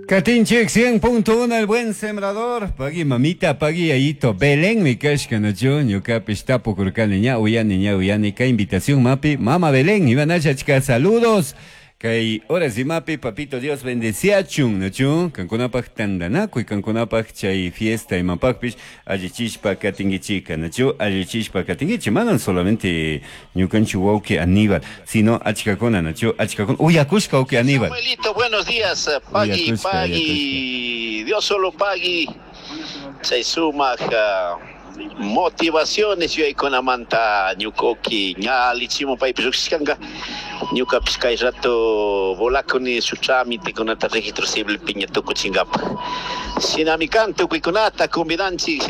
Katinchik 100.1 El Buen Sembrador. Pagui mamita, pagui yayito. Belén mi kashka nachu. Ñukapish tapukurkani ña uyani ña uyani. Kay invitación mapi. Mama Belén, imanashachka saludos. Kay horas imapi, papito Dios bendeciachun, nachu. Kankunapaj tandanakuy, kankunapaj chay fiesta imapajpish allichishpa katinkichika, nachu. Allichishpa katinkichi. Manan solamente ñukanchik wawki Aníbal, sino achkakuna, nachu. Achkakuna. Uyakushka wawki Aníbal. Samuelito, buenos días. Pagui, Uyakushka, pagui. Dios solo pagui. Chay sumak motivaciones yuyaykunamanta ñuka ña allichimun paypish lluqshishkanka. Ñukapish kay rato volakuni shuk trámitekunata registro civilpi ña tukuchinkapak. Shinami kan tukuykunata convidanchik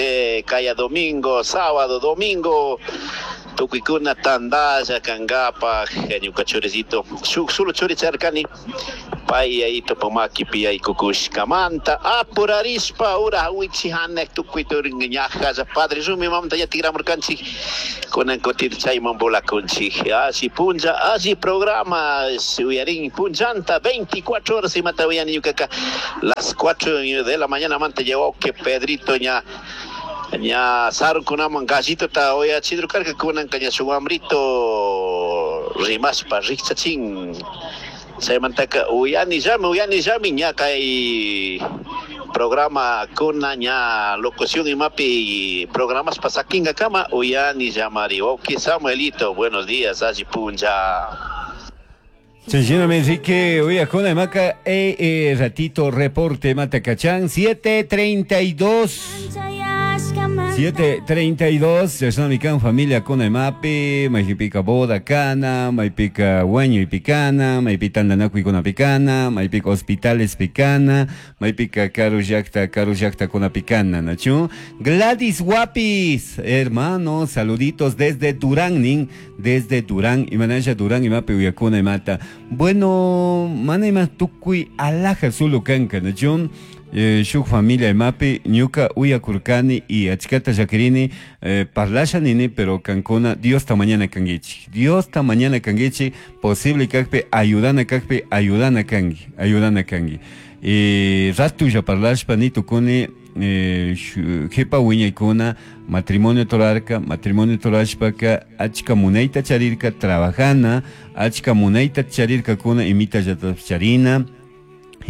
kaya domingo, sábado, domingo tukuykuna tandalla kankapak ñuka churicito shuk solo churi charkani pay yayitopak makipi yaykukushkamanta apurarishpa ura wichi hanak tukuy turin ñajalla padre rumi mamanta ña tikramurkanchik kunan kutin chayman volakunchik alli punlla alli programa uyarin punllanta 24 horas imata uyani ñukaka las 4 de la mañana manta llegó que Pedrito ña ña sarunkunaman gallitota uyachidrukarka kunanka ña shuk wambrito rimashpa rikchachin chaymantaka uyanillami uyanillami ña kay programa kuna ña locución imapi programaspa sakinkakama uyanillamari wawki Samuelito, buenos días, alli punlla. Chayshina Enrique, uyakuna imaka ratito reporte matacachán 7:32. 7:32, chashnami familia kuna imapi, maypika boda kana, maypika wañuy pikana, maypi tandanakuy kuna pikana, maypika hospitales pikana, maypika karu llakta, karu llakta kuna pikana, nachu. Gladys Guapis, hermano, saluditos desde Durán, nin, desde Durán, imanasha Durán, imapi uyakuna imata. Bueno, mana ima tukuy alaja sulu kanka, nachu. Shuk familia imapi ñuka uyakurkani y achkata llakirini, parlasha nini, pero kankuna Diosta mañana kankichik, Diosta mañana kankichik, posible kakpi ayudana kakpi ayudana kanki, ayudana kanki. Ratulla parlashpa ni tukuni, jepa wiñaykuna matrimonio torarka, matrimonio torashpaka achka munayta charirka trabajana, achka munayta charirkakuna imita llata charina.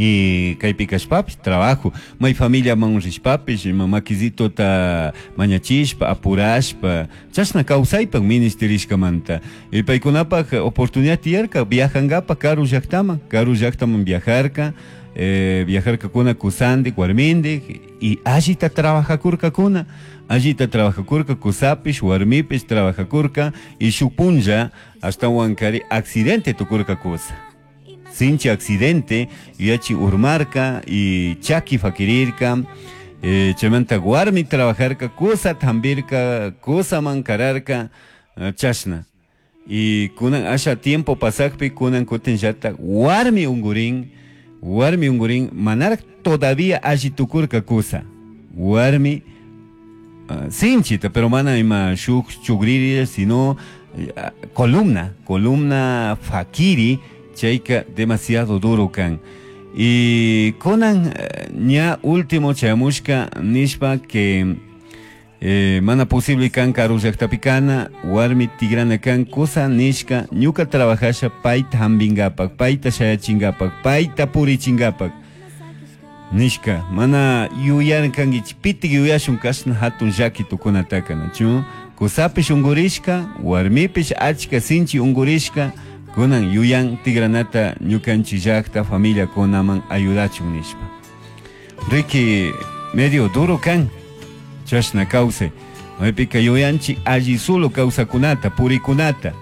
Y kaypi kashpapish trabajo, may familia man rishpapish, ima makisitota mañachishpa, apurashpa, chashna kawsaypak ministerishkamanta. Y paykunapak oportunidad tiyarka viajangapak karu llaktaman, karu llaktaman viajarka, viajarkakuna kusandik, warmindik, y allita trabajakurkakuna, allita trabajakurka, kusapish, warmipish trabajakurka, y shuk punlla ashtawankari accidente tukurka kusa. Sinchi accidente, yachi urmarka y chaki fakirirka, chaymanta warmi trabajarka, kusa tambirka, kusa mankararka, chashna. Y kunan asha tiempo pasakpi, kunan kutin llata, warmi ungurin, warmi ungurin, manarak todavía alli tukurka kusa. Warmi, sinchita, pero mana ima shuk chugriri, sino, columna, columna fakiri, chayka demasiado duro kan. Y kunan, ña último chayamushka nishpa que, mana posible kan karu llaktapi kana, warmi tigrana kan, kusa nishka ñuka trabajasha payta hambingapak, payta shayachingapak, payta purichingapak nishka, mana yuyarkankichik, pitik yuyashun kashna hatun llaki tukunataka, nachu? Kusapish ungurishka, warmipish achka sinchi ungurishka, kunan yuyan tigranata ñukanchik llakta familia kunaman ayudachun nishpa. Riki medio duro kan, chashna kawsay. Maypika yuyanchik alli solo kawsakunata, purikunata.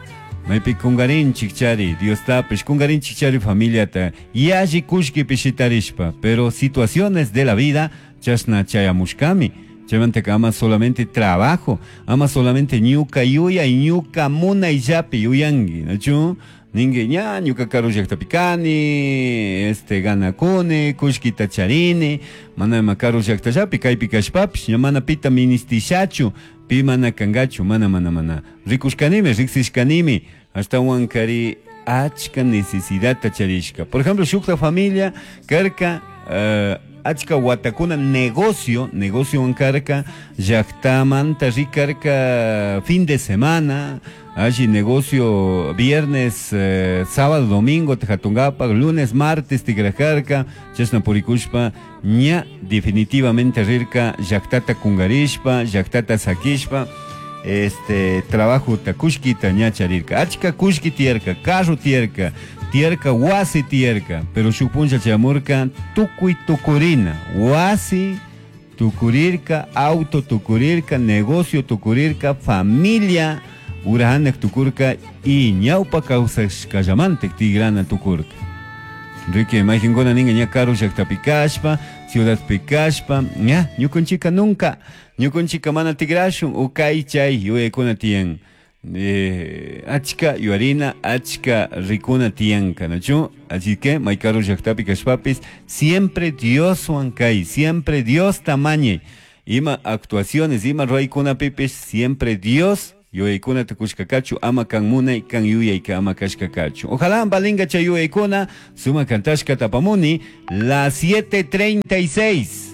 Maypi kungarinchik chari, Diostapish, kungarinchik chari familiata, yalli kullkipi shitarishpa, pero situaciones de la vida chashna chayamushkami. Chaymantaka ama solamente trabajo, ama solamente ñuka yuya y ñuka munayllapi yuyanki, nachu? Ningue ña, ñuka karu llaktapi kani, ganakuni, kullkita charini, mana ima karu llaktallapi, kaypi kashpapish, ña mana pita ministishachu, pi mana kangachu, mana, mana, mana. Rikushkanimi, riksishkanimi, ashtawankari achka necesidadta charishka. Por ejemplo, shukta familia karka, Achka watakuna negocio, negociowan karka, llaktamanta rikarka fin de semana, alli negocio viernes, sábado, domingo hatunkapak, lunes, martes tikrakarka, chashna purikushpa ña definitivamente rirka llaktata kungarishpa, llaktata sakishpa, trabajota kullkita ña charirka. Achka kullki tiyarka, carro tiyarka, tiyarka wasi tiyarka, pero shuk punlla chayamurka tukuy tukurina, wasi tukurirka, auto tukurirka, negocio tukurirka, familia urahanak tukurka y ñawpa kawsashkallamantik tigrana tukurka. Enrique, imaginkuna ninga ña karu llaktapi kashpa, ciudadpi kashpa, ña, ñukunchika nunca, ñukunchika mana tigrashun, u kay chay yuyaykuna tiyan. Achka yuyarina, achka rikuna tiyanka, ¿nachu? Así que, may karu llaktapi kashpapis, siempre Dioswan kay, siempre Dios tamañe. Ima actuaciones, ima ruraykunapipis, siempre Dios yuyaykuna tukushka kachu, ama kan munay, kan yuyayka ama kashka kachu. Ojalá valinga chay yuyaykuna, suma kantashka tapamuni, las 7:36.